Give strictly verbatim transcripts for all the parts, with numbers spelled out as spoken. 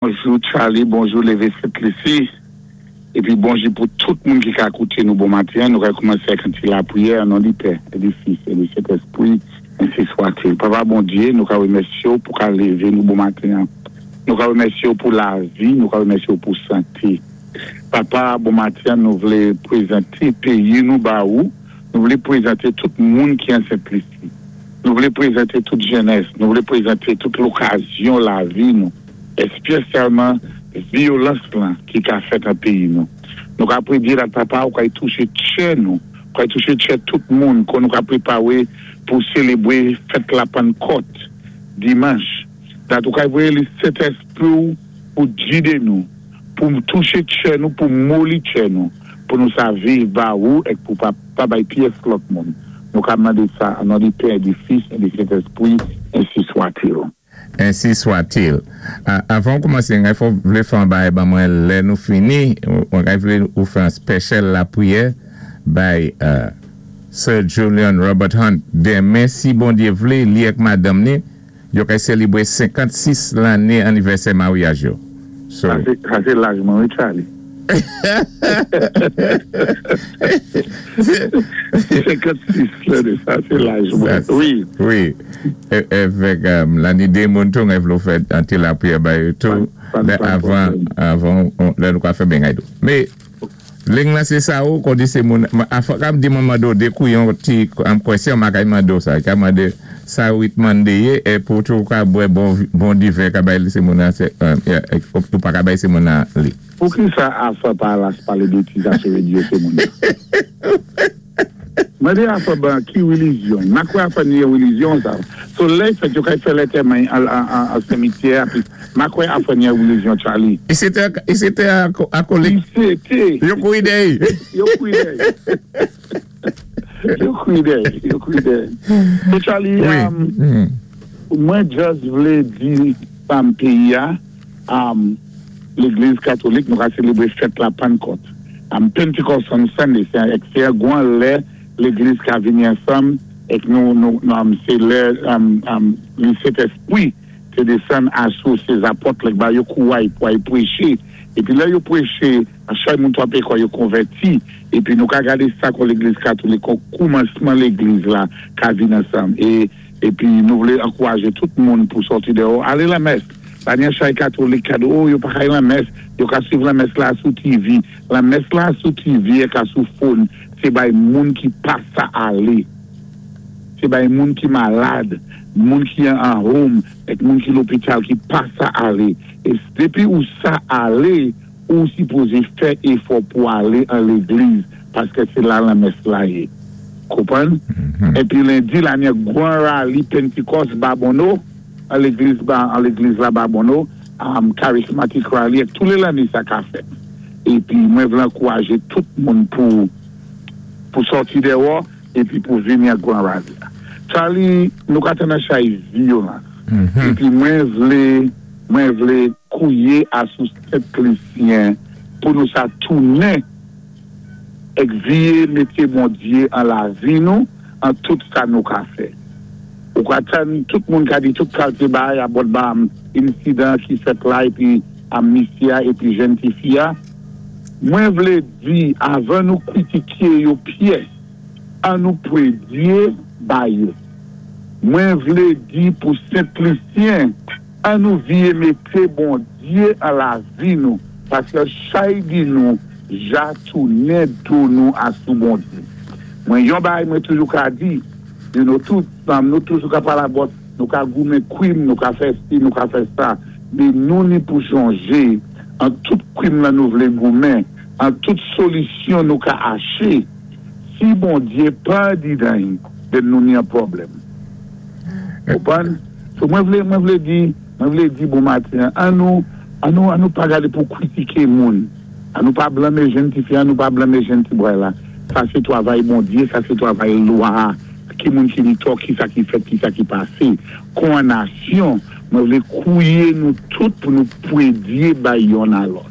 Bonjou Charlie, bonjou Lévé Sent-Lisi. Épi bonjou pou tout moun ki ka kouté nou bon maten. Nou ka koumansé ak yon ti lapriyè an non di Pè, é di Fis, é di Sentèspwi, ensi swa-t-il. Papa Bondyé, nou ka wémèsyé ou pou ka lévé nou bon maten. Nou ka wémèsyé ou pou lavi, nou ka wémèsyé ou pou santé. Papa, bon maten, nou vlé pwézanté péyi nou ba ou, nou vlé pwézanté tout moun ki an Sent-Lisi. Nou vlé pwézanté tout jenès, nou vlé pwézanté tout lokazyon lavi nou, èspésyalman vyolans lan ki ka fèt an péyi nou. Nou ka pwédyé la papa ou ka touché tchè nou, ou ka touché tchè tout moun kon nou ka pwépawé pou sélébwé fèt la Pannkòt dimanch. Dat ou ka voyé le Sentèspwi ou pou gidé nou, pou touché tchè nou, pou moli tchè nou, pou nou sa viv ba ou é pou pa, pa bay pyès lòt moun. Nou ka mandé sa an non di Pè, di Fis, é di Sentèspwi, ensi swa-t-il. Ensi swa-t-il. Avan koumansé, mwen fò vlé fè an bay ban mwen lè nou fini, mwen vlé ou fè an special lapriyè bay Sir Julian Robert Hunt. Denmen si Bondyé vlé, li ek madanm ni, yo kay sélébwé senkant-sis lanné anivèsè maryaj yo. Sa sé laj mwen, wi Charlie. Senkant-sis lanné, sa sé laj mwen, wi. Wi, èvèk lanni dé moun tou, mwen vlé ou fè an ti lapriyè bay yo tou, avan, avan, lè nou ka fè ben gay do. Mé, ling la sé sa ou, kon di sé moun, a fòk am di mwen mando de kou yon ti, am kwèsyon ma kay mando sa, ka mande sa ou it mande yé, é pou tou ka bwè bon, bon diven ka bay sé moun an, ou pa ka bay sé moun an li. Pou ki sa a fè pa la se pale betiz a se redi yo se moun nan? Mwen di a fè ban ki relijyon? Ma kwè a fè ni relijyon sa. So lè fèt yo kay fè lantèman an an simityè pi ma kwè a fè ni relijyon Charlie. E c'était e c'était akolik. C'était. Yo kouri dèyè. Yo kouri dèyè. Yo kouri dèyè. Yo kouri dèyè. So Charlie, Wi. um, mwen just vlé di pam péyi a, um, Légliz katolik nou ka sélébwé fèt la Pannkòt. Um, Pentecost on Sunday, sé sé yon gwan lè légliz ka vini ansanm é nou nou um, sé lè um, um, le Sentèspwi té désann asou sé zapòt lè ba yo kouway pou ay pwéché. Épi lè yo pwéché, chay moun twa pé kwa yo konvèti épi nou ka gadé sa kon légliz katolik kon koumansman légliz la ka vin ansanm. É épi nou vlé ankourajé tout moun pou sòti déyò, alé la mès. Pa ni chay katolik kado, oh, yo pa kay la mès, yo ka suiv la mès la sou T V. La mès la sou T V e ka sou phone, sé bay moun ki pa sa alé. Sé bay moun ki malad, moun ki an home, ek moun ki lopital ki pa sa alé. É dépi ou sa alé, ou sipozé fè éfò pou alé an légliz, paské sé la la mès la yé. Konpwann? Épi lendi, la ni gwan rally Pentecost Babonneau, an légliz ba, an légliz la Babonneau, um, charismatic rally, ek tou lé lanné sa ka fèt. Épi mwen vlé ankourajé tout moun pou pou sòti déwò épi pou vini a gwan rally. Charlie, nou ka tann chay vyolans. Épi mwen vlé mwen vlé kouyé asou Sent-Lisyen pou nou sa tounen ek viyé mété Bondyé an lavi nou, an tout sa nou ka fè. Ou ka tann tout moun ka di tout kalté bay a bòt ba insidan ki fèt la épi a misya épi jenn ti fi a. Mwen vlé di avan nou kritiké yo pyès, an nou pwédyé ba yo. Mwen vlé di pou Sent-Lisyen, an nou viyé mété Bondyé an lavi nou, paské chay di nou, ja tounen do nou asou Bondyé. Mwen yon bay mwen toujou ka di, you know, tout, nou toujou ka pala bot, nou ka goumen kwim, nou ka fè si, nou ka fè sa, mé nou ni pou chonjé, an tout kwim la nou vlé goumen, an tout solisyon nou ka aché, si Bondyé pa di dan, den nou ni an pwoblèm. Konpwann? So mwen vlé, mwen vlé di, mwen vlé di bon maten, an nou, an nou, an nou pa gadé pou kritiké moun, an nou pa blanmé jenn ti fi, an nou pa blanmé jenn ti bway la. Sa sé twavay Bondyé, sa sé twavay lwa, ki moun ki ni tò, ki sa ki fèt, ki sa ki pasé. Kon an nasyon, mwen vlé kouyé nou tout pou nou pwédyé bay yon a lòt.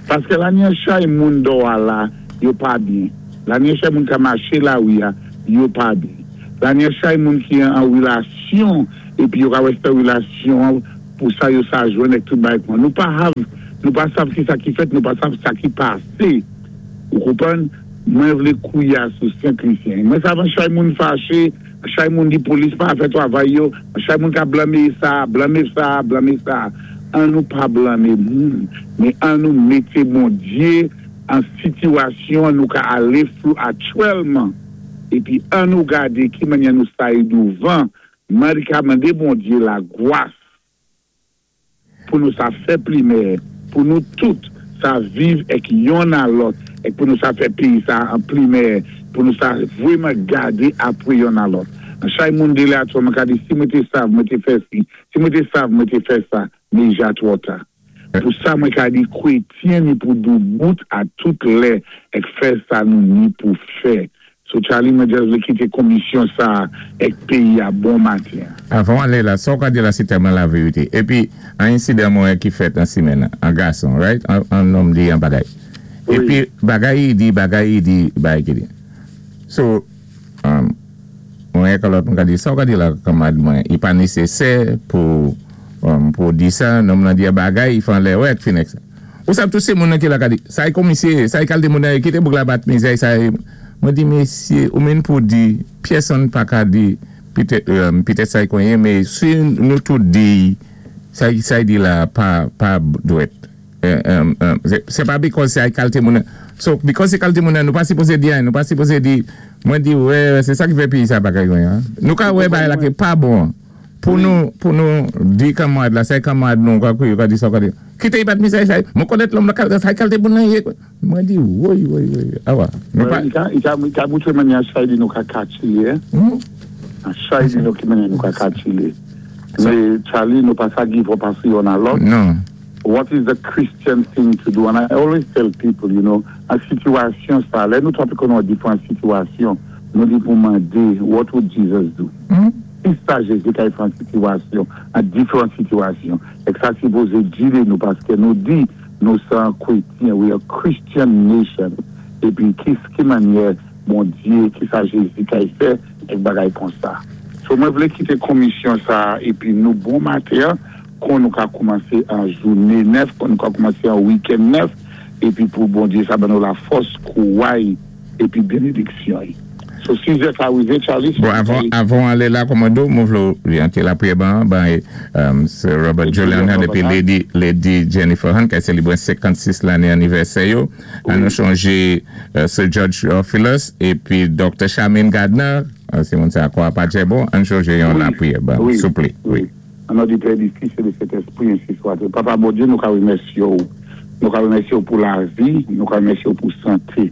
Paské la ni an chay moun do a la, yo pa byen. La ni an chay moun ka maché la ouya, yo pa byen. La ni an chay moun ki an relasyon, épi yo ka wè sa relasyon Pou sa yo sa jwenn èk tout bagay kon. Nou pa hav, nou pa sav ki sa ki fèt, nou pa sav sa ki pasé. Ou konpwann? Mwen vlé kouya sou Sent-Lisyen. Mwen sav an chay moun faché, an chay moun di polis pa fè twavay yo, an chay moun ka blanmé sa, blanmé sa, blanmé sa. An nou pa blanmé moun, men an nou mété Bondyé an sitiyasyon nou ka alé flou aktyèlman. Épi an nou gadé ki mannyè nou sa y douvan, mwen ka mandé Bondyé la gwas pou nou sa fè pli meyè, pou nou tout sa viv èk yonn a lòt, èk pou nou sa fè péyi sa an pli meyè, pou nou sa vwèman gadé apwé yonn a lòt. An chay moun dé la twò, mwen ka di si mwen té sav, mwen té fè si, si mwen té sav, mwen té fè sa, mé ja twò ta. Pou sa mwen ka di kwétyen ni pou doubout a tout lè èk fè sa nou ni pou fè. So Charlie, mwen just vlé kité komisyon sa èk péyi a bon maten. Avan alé la, sa ou ka di la sé tèlman la vérité. Épi, an ensidan mwen ki fèt an simenn, an gason, right? An, an nonm di an bagay. Wi. Épi, bagay i di, bagay i di, bagay ki di. So, um, mwen ek lòt mwen ka di, sa ou ka di la kanmad mwen, i pa nésésè pou, um, pou di sa, nonm nan di a bagay, i fan lè wè ek fin ek sa. Ou sav tout sé moun nan ki la ka di, sa i komisyé, sa i kalté moun nan, kité bouk la bat mizè, sa i, mwen di mésyé, ou menn pou di, pyèsonn pa ka di, pitèt, um, pitèt sa i konyen, mé si nou tout di, sa i, sa i di la, pa, pa dwèt. Euh, um, um, sé, sé pa because sa i kalté moun nan. So, because sé kalté moun nan, nou pa sipozé di an, nou pa sipozé di, mwen di, wè, sé sa ki fè péyi sa bagay konyen. Nou ka wè bagay la ki pa bon. Pou nou, pou nou di kanmad la, sa i kanmad nou, kwa kou, ka di sa, ka di, kité i bat mizè sa, mwen konèt lòm la, sa i kalté moun nan yé. Mwen di, woy, woy, woy, awa. Nou pa, I ka, i ka, i ka moutré mannyè chay di nou ka katchilé. Hmm? An chay di nou ki mannyè nou ka katchilé. Mé Charlie, nou pa sa give up asou yonn a lòt. Non. What is the Christian thing to do? And I always tell people, you know, an sitiyasyon sa, lè nou twòp konnen diferan sitiyasyon, nou di pou mandé, what would Jesus do? Hmm? Ki sa Jésus ka fè an sitiyasyon, an diferan sitiyasyon. Èk sa sipozé gidé nou, paské nou di, nou sé an kwétyen, we are Christian nation. Épi, ki, ki mannyè, Bondyé, ki sa Jésus ka fè, èk bagay kon sa. So, mwen vlé kité komisyon sa, épi nou bon maten, kon nou ka koumansé an jouné nèf, kon nou ka koumansé an week-end nèf, épi pou Bondyé sa ban nou la fòs, kouway, épi bénédiksyon. So, si zè ka wivé, Charlie, Bon, avan, avan alé la, kòmando, mwen vlé oryante la priyè ban, ban, um, Sir Robert Julian Hunt, épi Lady, Lady Jennifer Hunt, ki sélébré senkannsis lanné anivèsè yo. An nou chonjé uh, Sir George Theophilus, épi Doctor Charmaine Gardner, uh, sé moun sa kwa pa bon, an chonjé yon Wi. La priyè ban, Wi. Souplé. Wi. An non di Pè, di Fis é di Sentespwi, ensi swat. Papa Bondyé, nou ka wimèsyé ou. Nou ka wimèsyé ou pou lavi, nou ka wimèsyé ou pou santé.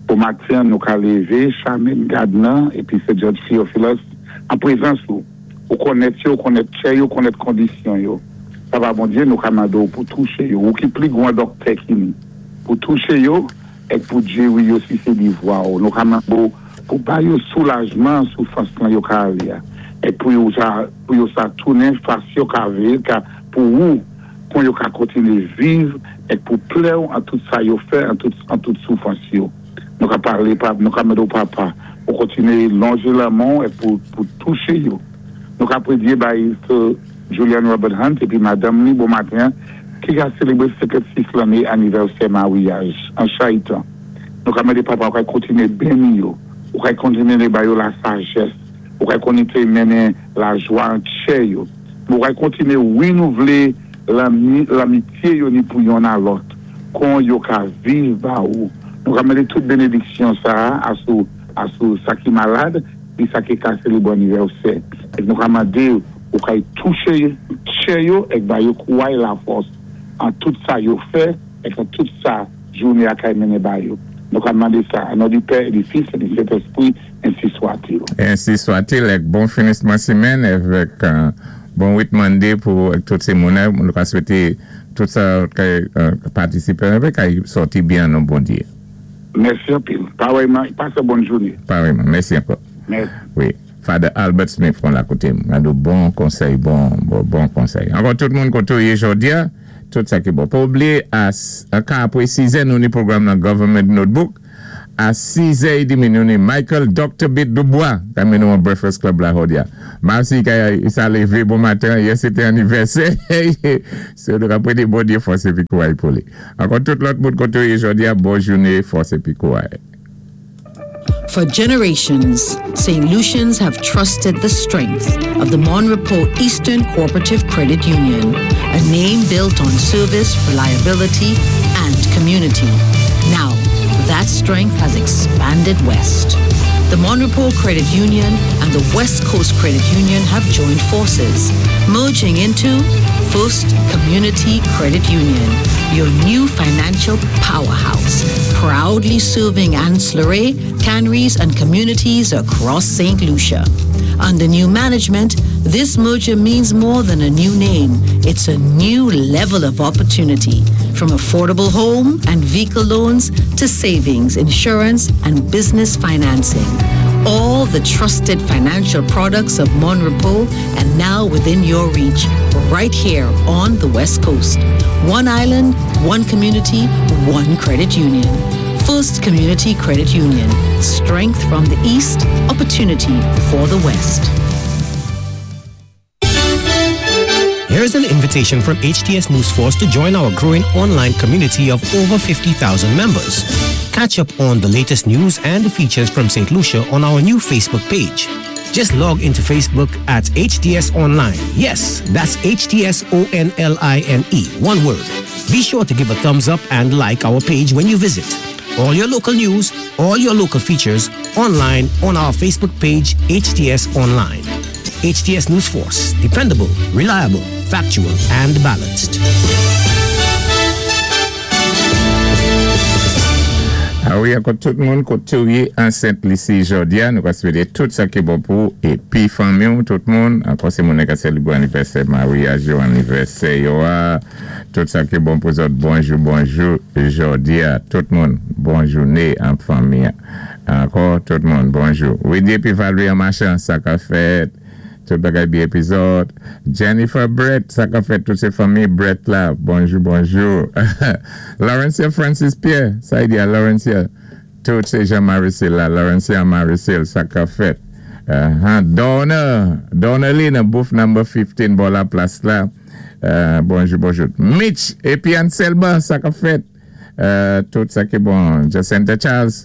Pou maten, nou ka lévé, Charmaine Gardner, épi Sir George Theophilus, an prézans ou. Ou konnèt yo, ou konnèt tchè yo, ou konnèt kondisyon yo. Papa Bondyé, nou ka mandé ou pou touché yo, ou ki pli gwan dòktè ki ni. Pou touché yo, èk pou jéwi yo si sé di vwa ou. Nou ka mandé ou pou ba yo soulajman soufrans lan yo ka alé a. Èk pou yo sa, pou yo sa tounen fas yo ka vé, ka, pou ou, kon yo ka kontiné viv, èk pou plè ou an tout sa yo fè, an tout, an tout soufrans yo. Nou ka parlé, pa, nou ka mande ou papa, pou kontiné lonjé lamen èk pou, pou touché yo. Nou ka prédyé bay Sir Julian Robert Hunt épi madanm ni bon maten, ki ka sélébré senkannsis lanné anivèsè maryaj, an chayitan. Nou ka mandé papa ou ka kontiné béni yo, ou ka kontiné ba yo la sajès, ou ka kontiné mennen la jwa an tchè yo. Ou ka kontiné winouvlé lanmi, lanmityé yo ni pou yonn a lòt, kon yo ka viv ba ou. Nou ka mandé tout bénédiksyon sa asou, asou sa ki malad, pi sa ki ka sélébré anivèsè. Èk nou ka mandé ou ka touché tchè yo, èk ba yo kouway la fòs an tout sa yo fè, èk an tout sa jouné a kay mennen ba yo. Nou ka mandé sa, an non di Pè, di Fis, é di Sentespwi, ensi swat-il. Ensi swat-il, èk bon finisman simenn, avèk uh, bon wit Monday pou tout sé moun, nou ka swété tout sa ki uh, patisipé avèk, kay sòti byen non Bondyé. Mèsi anpil. Parèyman, pasé bòn jouné. Parèyman, mèsi ankò. Mèsi. Wi, Father Albert Smith kon la koté, mwen bon konsèy, bon, bon, bon konsèy. Ankò tout moun koté ou yé jòdi a, tout sa ki bon. Pa oubliyé, a, a ka apwé sizè, nou ni pwogram nan Government Notebook. A sizè edmi, nou ni Michael Doctor Bit Dubois, ka mé nou an Breakfast Club la jòdi-a. Mèsi ka sa lévé bon maten, yè sé té anivèsè. So nou ka pwédé Bondyé fòs épi kouway pou li. Ankò tout lòt moun koté ou yé jòdi-a, bon jouné, fòs épi kouway. For generations, Saint Lucians have trusted the strength of the Mon Repos Eastern Cooperative Credit Union, a name built on service, reliability, and community. Now, that strength has expanded west. The Mon Repos Credit Union and the West Coast Credit Union have joined forces, merging into First Community Credit Union, your new financial powerhouse, proudly serving Anse La Raye, Canaries, and communities across Saint Lucia. Under new management, this merger means more than a new name. It's a new level of opportunity. From affordable home and vehicle loans to savings, insurance, and business financing. All the trusted financial products of Mon Repos and now within your reach, right here on the West Coast. One island, one community, one credit union. First Community Credit Union. Strength from the East, opportunity for the West. Here's an invitation from H T S News Force to join our growing online community of over fifty thousand members. Catch up on the latest news and features from Saint Lucia on our new Facebook page. Just log into Facebook at H T S Online. Yes, that's H T S O N L I N E, one word. Be sure to give a thumbs up and like our page when you visit. All your local news, all your local features online on our Facebook page, H T S Online. H T S News Force, dependable, reliable, factual, and balanced. A wi, ankò tout moun koté ou yé an Sent Lisi jòdi-a, nou ka swété tout sa ki bon pou épi fanmi, tout moun, ankò sé moun ka sélébwé anivèsè, maryaj yo, anivèsè yo a, tout sa ki bon pou zòt, bonjou, bonjou, jòdi-a, tout moun, bon jouné an fanmi. Ankò tout moun, bonjou. Wi, épi Valérie an machan, sa ka fèt, tout bagay byen épi zòt. Jennifer Brett, sa ka fèt, tout sé fanmi Brett la, bonjou, bonjou. Laurencia Francis Pierre, sa i di a Laurencia, tout sé Jean-Marie la, Laurencia Maricel, sa ka fèt. Uh, Donna, Donna Lina, booth number fifteen, bò la plas la. Uh, bonjou, bonjou. Mitch, épi Anselma, sa ka fèt. Uh, tout sa ki bon. Jacinta Charles,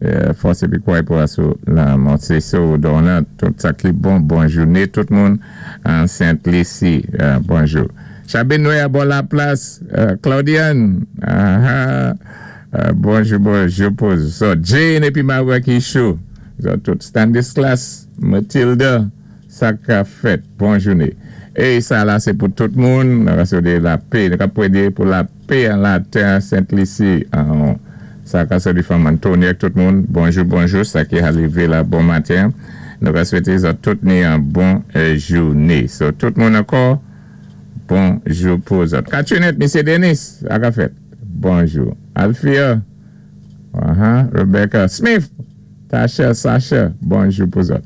euh, fòs épi kouway pou asou la monté sou Donna, tout sa ki bon, bon jouné tout moun an Sent Lisi, euh, bonjou. Chabin Noé bò la plas, euh, Claudiane, ah, ah, euh, bonjou, bonjou pou so, Jane épi Marouaki Chou, so, tout Stanislas, Mathilda, sa ka fèt, bon jouné. É sa la sé pou tout moun, nou ka swété lapè, nou ka pwédé pou lapè an latè Sent Lisi, an sa ka soti fanm Anthony ak tout moun, bonjou, bonjou, sa ki arivé la bon maten. Nou ka swété zòt tout ni an bon jouné. So, tout moun ankò, bonjou pou zòt. Katunette, Misye Denis, sa ka fèt, bonjou. Alfia, uh -huh, Rebecca Smith, Tasha, Sasha, bonjou pou zòt.